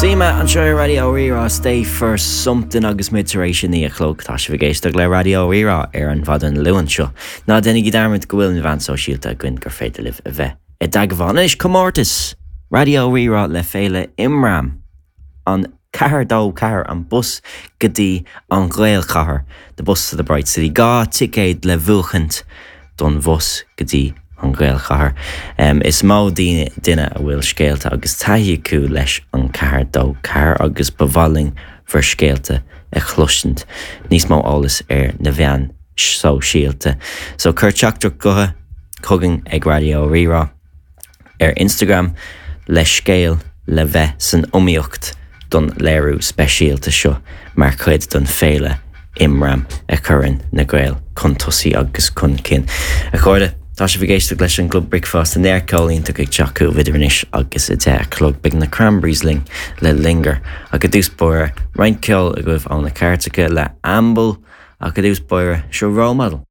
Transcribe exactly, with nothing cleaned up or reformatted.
Sima anseo ar Raidió Rí-Rá Stay for Something agus muid tar éis a naoi a chlog tá sibh ag éisteacht le Raidió Rí-Rá ar an mhaidin Luain seo. Ná déanaigí dearmad go bhfuil na meáin shóisialta againn gur féidir libh a bheith i dteagmháil. Anois comórtas Raidió Rí-Rá le Féile Imram an ceathair dó ceathair an bus go dtí an Ghaelchathair, the bus to the Bright City, dhá ticéad le buachaint don bhus go dtí an Ghaelchathair. Um, is mó daoine duine a bhfuil scéalta agus taithí acu leis an ceathair dó ceathair agus ba mhaith linn bhur scéalta a chloisint níos mó eolas ar na meáin shóisialta. So cuir teachtaireacht gutha chugainn ag Raidió Rí-Rá ar Instagram le scéal le bheith san iomaíocht don léiriú speisialta seo mar chuid don féile Imram a chuireann na Gaeil chun tosaigh agus chun cinn. A chairde Tá sibh ag éisteacht leis an gClub Bricfeasta neart ceol iontach ag teacht idir anois agus a deich a chlog beidh na Cranberries linn le Linger ach i dtús báire roinnt ceoil agaibh ó na cairteacha le Amble ach i dtús báire seo Role Model.